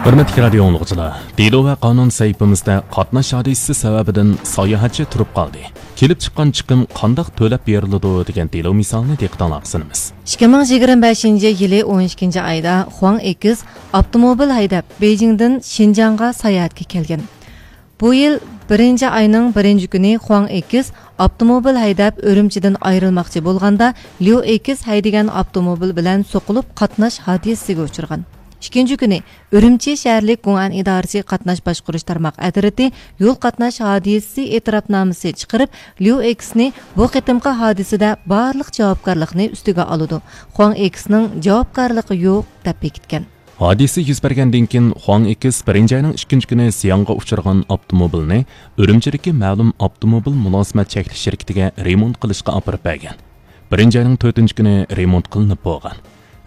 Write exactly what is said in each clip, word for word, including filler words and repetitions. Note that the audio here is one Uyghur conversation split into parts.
ھۆرمەتلىك رادىيو ئاڭلىغۇچىلار، دېلو ۋە قانۇن سەھىپىمىزدە قاتناش ھادىسىسى سەۋەبىدىن ساياھەتچى تۇرۇپ قالدى. كېلىپ چىققان چىقىم قانداق تۆلەپ بېرىلىدۇ دېگەن دېلو مىسالىنى دىققىتىڭلارغا سۇنىمىز. ئىككى مىڭ يىگىرمە بەشىنچى يىلى ئون ئىككىنچى ئايدا خۇاڭ ئېكىس ئاپتوموبىل ھەيدەپ بېيجىڭدىن شىنجاڭغا ساياھەتكە كەلگەن. بۇ يىل بىرىنچى ئاينىڭ بىرىنچى كۈنى خۇاڭ ئېكىس ئاپتوموبىل ھەيدەپ ئۈرۈمچىدىن ئايرىلماقچى بولغاندا، ليۇ ئېكىس ھەيدىگەن ئاپتوموبىل بىلەن سوقۇلۇپ قاتناش ھادىسىسىگە ئۇچرىغان. ئىككىنچى كۈنى ئۈرۈمچى شەھەرلىك گۇڭئەن ئىدارىسى قاتناش باشقۇرۇش تارماق ئەترىتى يول قاتناش ھادىسىسى ئېتىراپنامىسى چىقىرىپ، ليۇ ئېكىسنى بۇ قېتىمقى ھادىسىدە بارلىق جاۋابكارلىقنى ئۈستىگە ئالىدۇ، خۇاڭ ئېكىسنىڭ جاۋابكارلىقى يوق، دەپ بېكىتكەن. ھادىسە يۈز بەرگەندىن كېيىن، خۇاڭ ئېكىس بىرىنچى ئاينىڭ ئىككىنچى كۈنى زىيانغا ئۇچرىغان ئاپتوموبىلنى ئۈرۈمچىدىكى مەلۇم ئاپتوموبىل مۇلازىمەت چەكلىك شىركىتىگە رېمونت قىلىشقا ئاپىرىپ بەرگەن. بىرىنچى ئاينىڭ تۆتىنچى كۈنى رېمونت قىلىنىپ بولغان.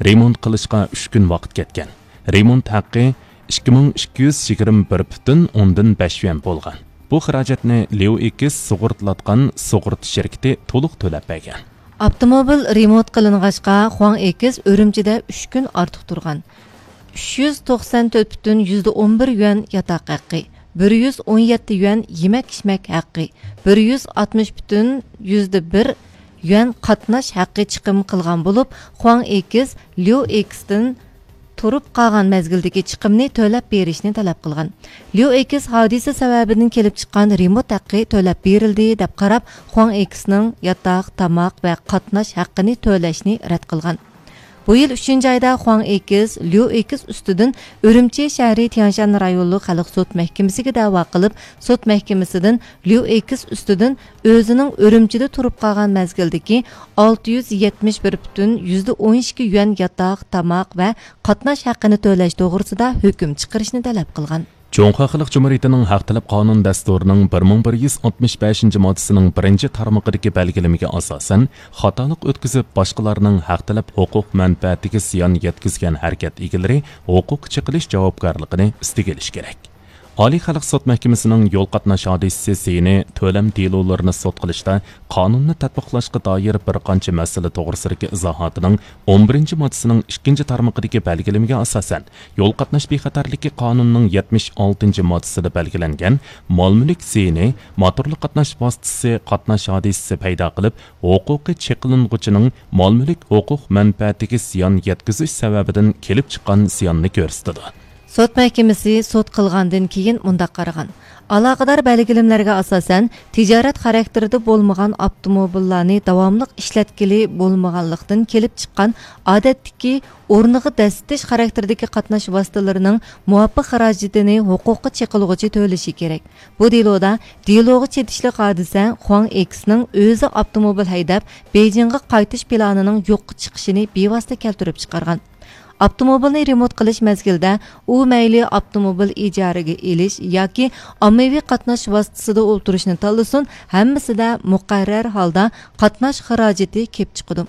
رېمونت قىلىشقا ئۈچ كۈن ۋاقىت كەتكەن. رېمونت ھەققى ئىككى مىڭ ئىككى يۈز يىگىرمە بىر پۈتۈن ئوندىن بەش يۈەن بولغان. بۇ خىراجەتنى ليۇ ئېكىس سۇغۇرتىلاتقان سۇغۇرتا شىركىتى تولۇق تۆلەپ بەرگەن. ئاپتوموبىل رېمونت قىلىنغاچقا، خۇاڭ ئېكىس ئۈرۈمچىدە ئۈچ كۈن ئارتۇق تۇرغان. ئۈچ يۈز توقسان تۆت پۈتۈن يۈزدە ئون بىر يۈەن ياتاق ھەققى، بىر يۈز ئون يەتتە يۈەن يېمەك-ئىچمەك ھەققى، بىر يۈز ئاتمىش پۈتۈن يۈزدە بىر يۈەن قاتناش ھەققى چىقىم قىلغان بولۇپ، خۇاڭ ئېكىس ليۇ ئېكىستىن تۇرۇپ قالغان مەزگىلدىكى چىقىمنى تۆلەپ بېرىشنى تەلەپ قىلغان. ليۇ ئېكىس ھادىسە سەۋەبىدىن كېلىپ چىققان رېمونت ھەققى تۆلەپ بېرىلدى، دەپ قاراپ، خۇاڭ ئېكىسنىڭ ياتاق، تاماق ۋە قاتناش ھەققىنى تۆلەشنى رەت قىلغان. بۇ يىل ئۈچىنچى ئايدا خۇاڭ ئېكىس ليۇ ئېكىس ئۈستىدىن ئۈرۈمچى شەھىرى تيەنشان رايونلۇق خەلق سوت مەھكىمىسىگە دەۋا قىلىپ، سوت مەھكىمىسىدىن ليۇ ئېكىس ئۈستىدىن ئۆزىنىڭ ئۈرۈمچىدە تۇرۇپ قالغان مەزگىلدىكى ئالتە يۈز يەتمىش بىر پۈتۈن يۈزدە ئون ئىككى يۈەن ياتاق، تاماق ۋە قاتناش ھەققىنى تۆلەش توغرىسىدا ھۆكۈم چىقىرىشنى تەلەپ قىلغان. جۇڭخۇا خەلق جۇمھۇرىيىتىنىڭ ھەق تەلەپ قانۇن دەستۇرىنىڭ بىر مىڭ بىر يۈز ئاتمىش بەشىنچى ماددىسىنىڭ بىرىنچى تارمىقىدىكى بەلگىلىمىگە ئاساسەن، خاتالىق ئۆتكۈزۈپ، باشقىلارنىڭ ھەق تەلەپ ھوقۇق مەنپەئەتىگە زىيان يەتكۈزگەن ھەرىكەت ئىگىلىرى ھوقۇققا چېقىلىش جاۋابكارلىقىنى ئۈستىگە ئېلىشى كېرەك. ئالىي خەلق سوت مەھكىمىسىنىڭ يول قاتناش ھادىسىسى زىيىنى تۆلەم دېلولىرىنى سوت قىلىشتا قانۇننى تەتبىقلاشقا دائىر بىر قانچە مەسىلە توغرىسىدىكى ئىزاھاتىنىڭ ئون بىرىنچى ماددىسىنىڭ ئىككىنچى تارمىقىدىكى بەلگىلىمىگە ئاساسەن، يول قاتناش بىخەتەرلىكى قانۇنىنىڭ يەتمىش ئالتىنچى ماددىسىدا بەلگىلەنگەن مال-مۈلۈك زىيىنى موتورلۇق قاتناش ۋاسىتىسى قاتناش ھادىسىسى پەيدا قىلىپ، ھوقۇقى چېقىلىنغۇچىنىڭ مال-مۈلۈك ھوقۇق مەنپەئەتىگە زىيان يەتكۈزۈش سەۋەبىدىن كېلىپ چىققان زىياننى كۆرسىتىدۇ. سوت مەھكىمىسى سوت قىلغاندىن كېيىن مۇنداق قارىغان: ئالاقىدار بەلگىلىمىلەرگە ئاساسەن، تىجارەت خاراكتېرىدا بولمىغان ئاپتوموبىللارنى داۋاملىق ئىشلەتكىلى بولمىغانلىقتىن كېلىپ چىققان ئادەتتىكى ئورنىغا دەسسىتىش خاراكتېرىدىكى قاتناش ۋاسىتىلىرىنىڭ مۇۋاپىق خىراجىتىنى ھوقۇققا چېقىلغۇچى تۆلىشى كېرەك. بۇ دېلودا دېلوغا چېتىشلىق ھادىسە خۇاڭ ئېكسنىڭ ئۆزى ئاپتوموبىل ھەيدەپ بېيجىڭغا قايتىش پىلانىنىڭ يوققا چىقىشىنى بىۋاسىتە كەلتۈرۈپ چىقارغان. ئاپتوموبىلنى رېمونت قىلىش مەزگىلىدە ئۇ مەيلى ئاپتوموبىل ئىجارىگە ئېلىش ياكى ئاممىۋى قاتناش ۋاسىتىسىدا ئولتۇرۇشنى تاللىسۇن، ھەممىسىدە مۇقەررەر ھالدا قاتناش خىراجىتى كېلىپ چىقىدۇ.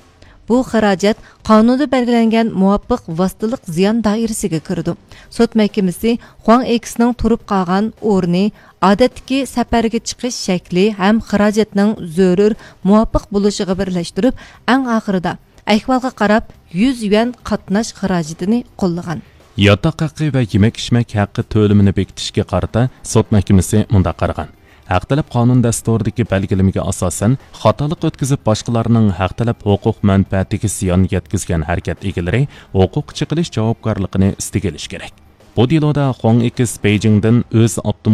بۇ خىراجەت قانۇندا بەلگىلەنگەن مۇۋاپىق ۋاسىتىلىق زىيان دائىرىسىگە كىرىدۇ. سوت مەھكىمىسى خۇاڭ ئېكسنىڭ تۇرۇپ قالغان ئورنى، ئادەتتىكى سەپەرگە چىقىش شەكلى ھەم خىراجەتنىڭ زۆرۈر مۇۋاپىق بولۇشىغا بىرلەشتۈرۈپ، ئەڭ ئاخىرىدا ئەھۋالغا قاراپ يۈز يۈەن قاتناش خىراجىتىنى قوللىغان. ياتاق ھەققى ۋە يېمەك-ئىچمەك ھەققى تۆلىمىنى بېكىتىشكە قارىتا سوت مەھكىمىسى مۇنداق قارىغان: ھەق تەلەپ قانۇن دەستۇرىدىكى بەلگىلىمىگە ئاساسەن، خاتالىق ئۆتكۈزۈپ باشقىلارنىڭ ھەق تەلەپ ھوقۇق مەنپەئەتىگە زىيان يەتكۈزگەن ھەرىكەت ئىگىلىرى ھوقۇققا چېقىلىش جاۋابكارلىقىنى ئۈستىگە ئېلىشى كېرەك. بۇ دېلودا خۇاڭ ئېكس بېيجىڭدىن ئۆز ئاپتوموبىل